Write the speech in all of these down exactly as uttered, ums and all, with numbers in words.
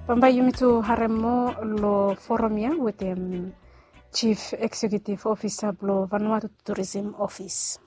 Bambae yumi tu harem moa long forum ya wetem Chief Executive Officer blong Vanuatu Tourism Office.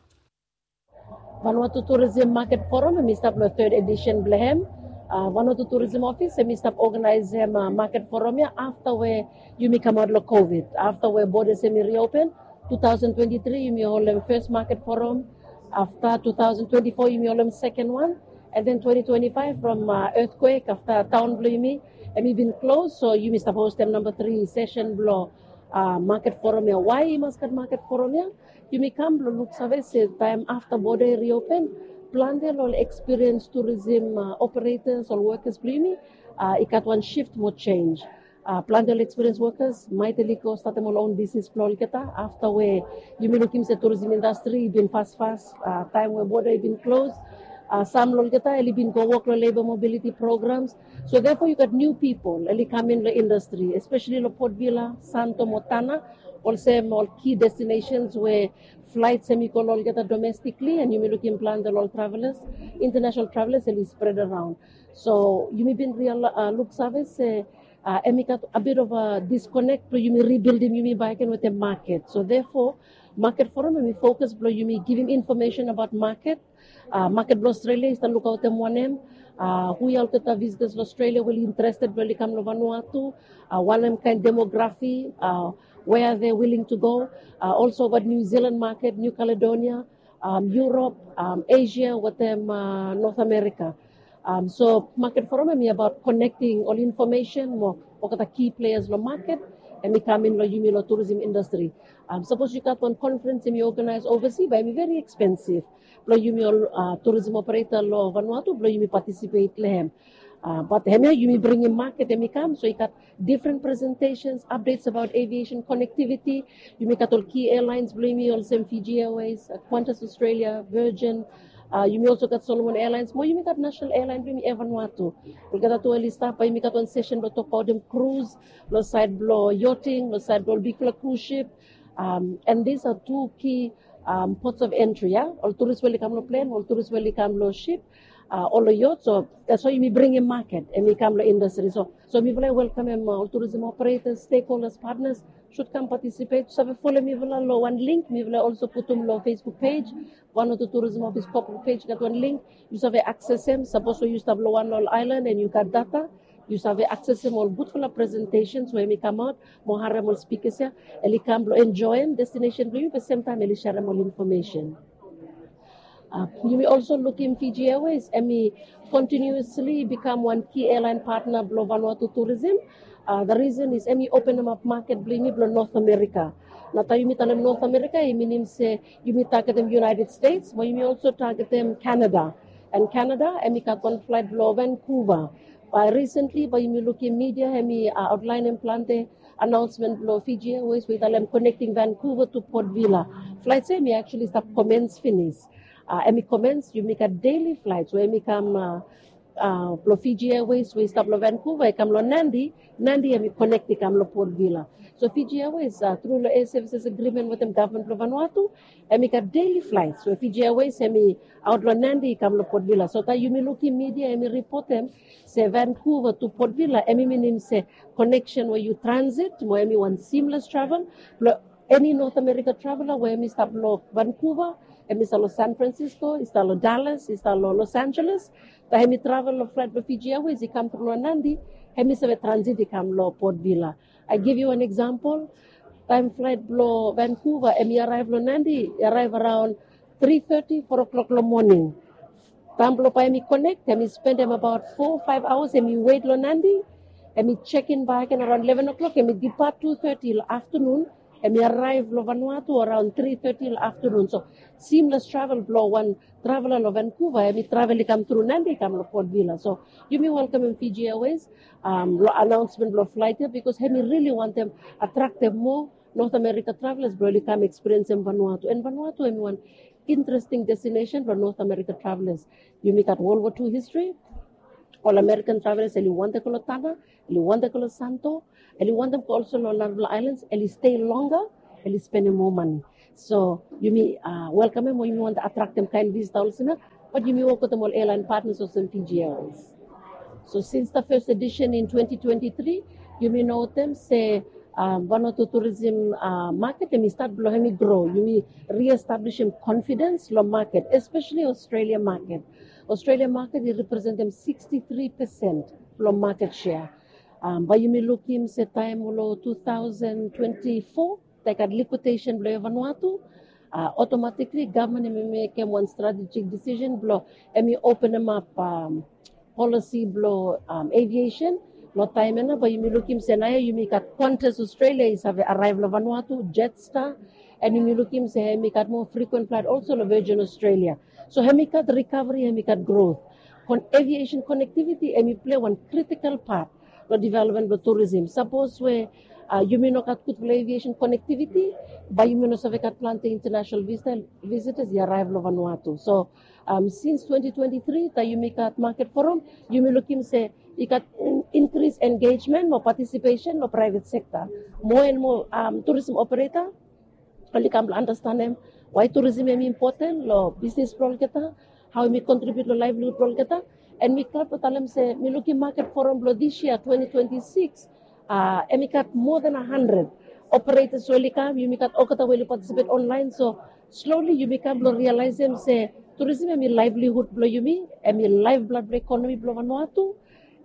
Vanuatu Tourism Market Forum em i stap long third edition blong hem. Uh, Vanuatu Tourism Office em i stap organizem uh, market forum ya afta we yumi kamaot long COVID. Afta we borders em i reopen, two thousand twenty-three yumi holem first market forum. Afta two thousand twenty-four yumi holem second one. And then twenty twenty-five from uh, earthquake afta town blong yumi em i bin close, so yumi stap hostem number three session blong uh, market forum ya. Why i mas gat market forum ya? Yumi kam blong luksave se taem afta border i reopen, plante long ol experience tourism uh, operators, ol workers blong yumi uh, i gat wan shift mo change. Uh, plante ol experience workers maet oli go statem ol own business blong olgeta afta we yumi lukim se tourism industry i bin fasfas uh, taem we border i bin close. Uh, sam long olgeta oli bin go wok long labor mobility programs. So therefore you got new people oli kam in long industry, especially long Port Vila, Santo mo Tanna, olsem ol key destinations we flights em i go long olgeta domestically, and yumi lukim plante long ol travelers, international travelers, and i spread around. So yumi bin real uh, luksave se uh, em i gat a bit of a disconnect blong yumi rebuildim yumi back again wetem market. So therefore market forum em i focus blong yumi givim information about market. Uh, market blong Australia i stap lukaotem wanem, uh, hu ya olgeta visitors long Australia we oli interested blong oli kam long Vanuatu, uh, wanem kaen demography, uh, where are they willing to go. Uh, also got New Zealand market, New Caledonia, um, Europe, um, Asia wetem uh, North America. Um, so market forum em i about connecting ol information mo olgeta key players long market em i kam in long yumi long tourism industry. Um, sapos yu gat wan conference em i organize overseas, bae em i very expensive blong yumi ol uh, tourism operator long Vanuatu blong yumi participate long hem. Uh, but hemia yumi bringim market em i kam, so i gat different presentations, updates about aviation connectivity. Yumi gat ol key airlines blong yumi olsem Fiji Airways, uh, Qantas Australia, Virgin. Uh, yumi also gat Solomon Airlines mo yumi gat national airline blong yumi, Air Vanuatu. Olgeta tu oli stap, bae yumi gat wan session blong tokbaotem cruise, long side blong yachting, long side blong ol bigfala cruise ship. Um, and these are two key um, ports of entry ya. Ol tourist we oli kam long plane, ol tourist we oli kam long ship, uh, ol long yacht. So that's why yumi bringim market em i kam long industry. So so mifala i welkamem uh, ol tourism operators, stakeholders, partners should kam participate. Save folem mifala long wan link mifala also putum long Facebook page. Vanuatu Tourism Office corporate page gat wan link. Yu save accessem, sapos we yu stap long wan long ol island and yu gat data, yu save accessem ol gudfala presentations we em i kamaot mo harem ol speakers ya. Oli kam blong enjoem destination blong yumi, be semtaem oli serem ol information. Uh, yumi also lukim Fiji Airways em i continuously become one key airline partner blong Vanuatu tourism. Uh, the reason is em i openem ap market blong yumi blong North America. Na taem yumi talem North America i minim se yumi targetem United States, mo yumi also targetem Canada. And Canada em i gat wan flight blong Vancouver. Bae recently bae yumi lukim media em i uh, outlineem plante announcement blong Fiji Airways we i talem connecting Vancouver to Port Vila. Flights ya em i actually stap commence finis. Uh, em i commence, yumi gat daily flights we em i kam uh, uh, blong Fiji Airways we i stap long Vancouver i kam long Nadi. Nadi em i connect i kam long Port Vila. So Fiji Airways uh, tru long air services agreement wetem government blong Vanuatu, em i gat daily flights we Fiji Airways em i aot long Nadi i kam long Port Vila. So taem yumi lukim media em i reportem se Vancouver to Port Vila, em i minim se connection we yu transit mo em i wan seamless travel blong any North America traveler we em i stap long Vancouver, em i stap long San Francisco, i stap long Dallas, i stap long Los Angeles. Taem em i travel long flight blong Fiji Airways i kam tru long Nadi, em i save transit i kam long Port Vila. I give you an example. Taem flight blong Vancouver em i arrive long Nadi, i arrive around three thirty, four o'clock long morning. Taem blong bae em i connect, em i spendem about four five hours em i wet long Nadi. Em i check in bakegen around eleven o'clock, em i depart two thirty long afternoon. Em i arrive long Vanuatu around three thirty long afternoon. So seamless travel blong wan traveler long Vancouver, em i travel i kam tru Nadi i kam long Port Vila. So yumi welkamem Fiji Airways um, long announcement blong flight ya, because em i really wantem attractem moa North America travelers blong oli kam experiencem Vanuatu. And Vanuatu em i wan interesting destination blong North America travelers. Yumi gat World War Two history. Ol American travelers oli wantem go long Tanna, oli wantem go long Santo, oli wantem go also long narafala islands, oli stay longer, oli spendem moa mane. So yumi uh, welkamem o yumi wantem attractem kaen visitor olsem ya, but yumi wok wetem ol airline partners olsem Fiji Airways. So since the first edition in twenty twenty-three, yumi notem se um, Vanuatu tourism uh, market hemi start blong hemi grow. Yumi reestablishim confidence long market, especially Australia market. Australia market i representem sixty-three percent long market share. Um, bae yumi lukim se taem long two thousand twenty-four, taem i gat liquidation blong Air Vanuatu, uh, automatically government hemi mekem wan strategic decision blong hemi openem ap um, policy blong um, aviation. Long taem ia nao bae yumi lukim se naoia yumi gat Qantas Australia i save arrive long Vanuatu, Jetstar, and yumi lukim se hemi gat moa frequent flight also long Virgin Australia. So hemi gat recovery, hemi gat growth. Kon aviation connectivity hemi play wan critical part long development blong tourism. Sapos we uh, yumi no gat gudfala aviation connectivity, bae yumi no save gat plante international visitor, visitors i arrive long Vanuatu. So um, since twenty twenty-three taem yumi gat market forum, yumi lukim se i gat increase engagement mo participation long private sector. Moa and moa um, tourism operator oli kam blong understandem why tourism hemi important long business blong olgeta, hao hemi contribute long livelihood blong olgeta. And mi glad blong talem se mi lukim market forum blong this year twenty twenty-six, uh, hemi gat more than a hundred operators we oli kam. Yumi gat olgeta we oli participate online. So slowly yumi kam blong realizem se tourism hemi livelihood blong yumi, hemi lifeblood blong economy blong Vanuatu.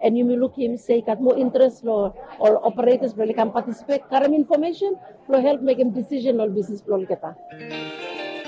And yumi lukim se i gat moa interest long ol operators blong oli kam participate, karem information blong help mekem decision long business blong olgeta.